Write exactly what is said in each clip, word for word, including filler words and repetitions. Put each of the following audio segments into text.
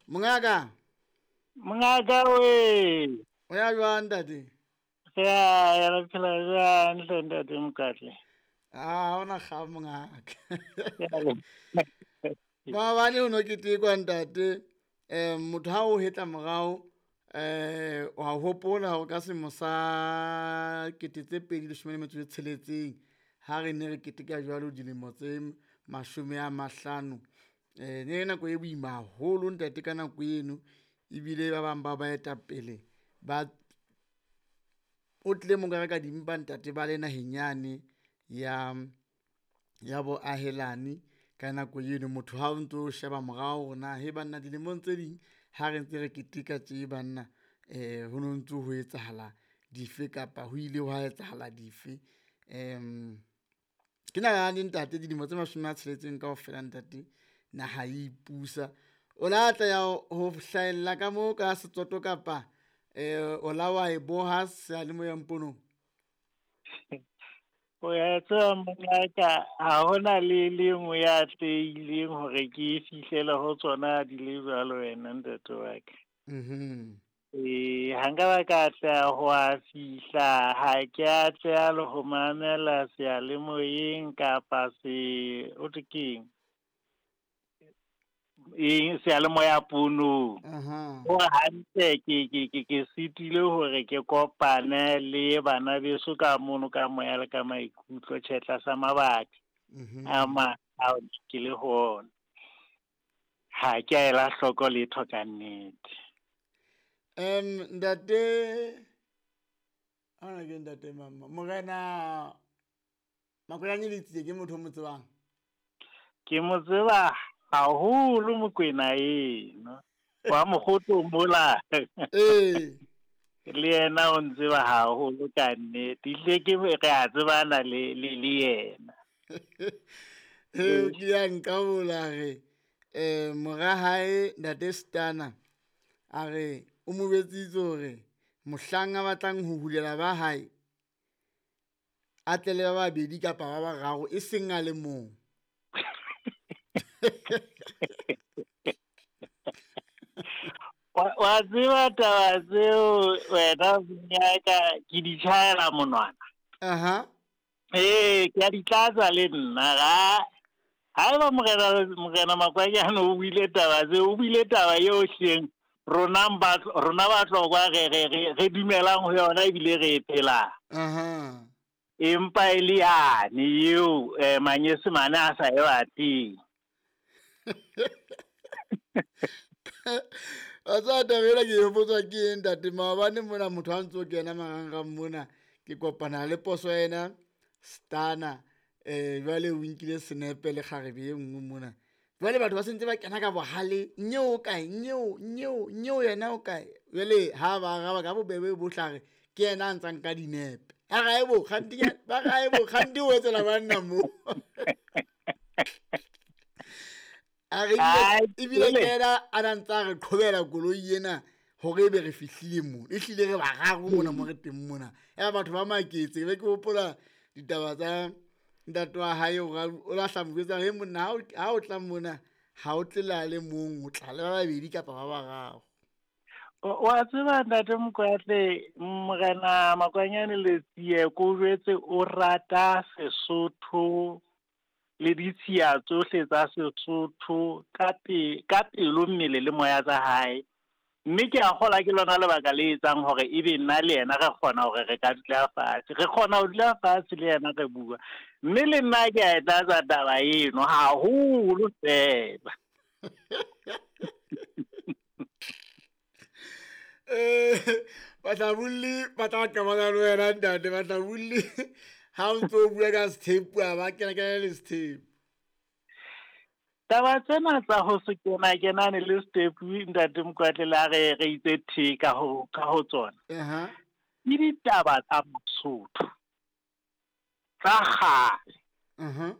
Mongaka. Mongaka we. O ya jwang ntate? Ya, ya re phela jwang hle ntate Mokatle? Ah, ona ga mongaka. Maobane o no ketekwa ntate, eh motho ha o hetla morao, eh wa hopola hore ka selemo sa kete tse pedi leshome le metso e tsheletseng ha re ne re keteka jwalo dilemo tse mashome a mahlano, eh ne nako e boima haholo ntate ka nako eno, ebile ba bang ba baetapele ba o tlile mo ka dimpa ntate ba le naheng yane ya ya boahelani ka nako eno. Motho ha o ntso sheba morao hore na he banna dilemong tse ding ha re ntse re keteka tje banna, eh ho no ntso ho etsahala dife kapa ho ile hwa etsahala dife. Um ke nalane ntate dilemo tse mashome a tsheletseng kaofela ntate naha e ipusa. O la tla ya ho hlahella ka mo ka setsoto kapa eh o la wa e boha seyalemoyeng ponong? O ya tseba mongaka, ha hona le le nngwe ya atlehileng hore ke fihlele ho tsona di le jwalo wena ntate wa ka. Mhm. Eh, ha nka ba ka atleha ho a fihla, ha ke atleha le ho mamela seyalemoyeng kapa se, ho thwe keng? Eng, seyalemoya ponong. Aha. Ho hantle ke, ke, ke, ke sitile hore ke kopane le bana beso ka mono ka moya le ka maikutlo, tjhe, tlasa mabaka Mhm. a mang ao ke le ho ona. Ha ke a ela hloko letho ka nnete. Em, ntate, ana ke ntate mama, Morena Makwanyane Letsie ke motho o mo tsebang? Ke mo tseba haholo Mokwena eno. Wa Mokgotho mola. Ee. Le yena o ntseba haholo ka nnete. Ehlile ke re a tsebana le, le, le yena. Ee, ke ya nqabola re, eh, mora hae ntate Stana a re o mo jwetsitse hore mohlang a batlang ho hulela ba hae a tle le ba babedi kapa ba bararo, e seng a le mong. Wa, wa tseba taba tseo wena monyaka ke di tjhaela monwana. Aha. Ee, ke a di tlatsa le nna. Ga haeba morena, morena Makwanyane o buile taba tseo, o buile taba eo hleng rona ba, rona ba Tlokwa re, re, re, re dumelang ho yona ebile re e phelang. Aha. Empa e le yane eo, eh, manyesemane a sa e batleng. Wa tseba taba ena ke e hopotswa ke eng ntate? Maobane mona motho ha ntso kena marangrang mona, ke kopana le poso ena Stana, eh, jwale o nkile senepe le kgarebe e nngwe mona. Jwale batho ba sentse ba kena ka bohale, nyeo o kae, nyeo, nyeo, nyeo yena o kae? Jwale ha ba araba ka bobebe bohle a re ke yena a ntsang ka dinepe. A re haebo, kganti ke, ba re haebo, kganti o etsela banna mo. A re Ai, ebile jwale. ke yena a na ntsa re qhobela koloi ena hore ebe re fihlile mo. Ehlile re bararo mona mo re teng mona. Ya batho ba maketse, be ke hopola ditaba tsa ntate wa hae hore o lahla mo jwetsa, he monna, ha o, ha o tla mona, ha o tle le a le mong, o tla le ba babedi kapa ba bararo. O, wa tseba ntate Mokoatle, Morena Makwanyane Letsie ko jwetse o rata Sesotho le ditshiya tsohle tsa Sesotho ka pe-, ka pelo, mmele le moya tsa hae. Mme ke a kgolwa ke lona lebaka le etsang hore ebe nna le yena re kgona hore re ka dula fatshe. Re kgona ho dula fatshe le yena re bua. Mme le nna ke a e tlatsa taba eno haholo fela. Eh, bahlabulli ba tla qabana le wena ntate, bahlabulli ha o ntso bua ka sethepu, ha ba kena kena le sethepu. Taba tsena tsa ho se kena kenane le sethepu ntate Mokoatle le ha re, re itse the ka ho, ka ho tsona. Aha. Ke ditaba tsa Mosotho tsa kgale. Aha.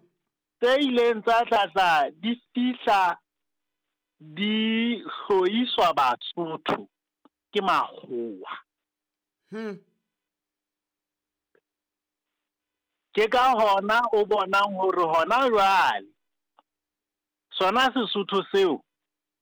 Tse ileng tsa tla tla di fihla di hloiswa Basotho ke makgowa. Hmm. Ke ka hona o bonang hore hona jwale sona Sesotho seo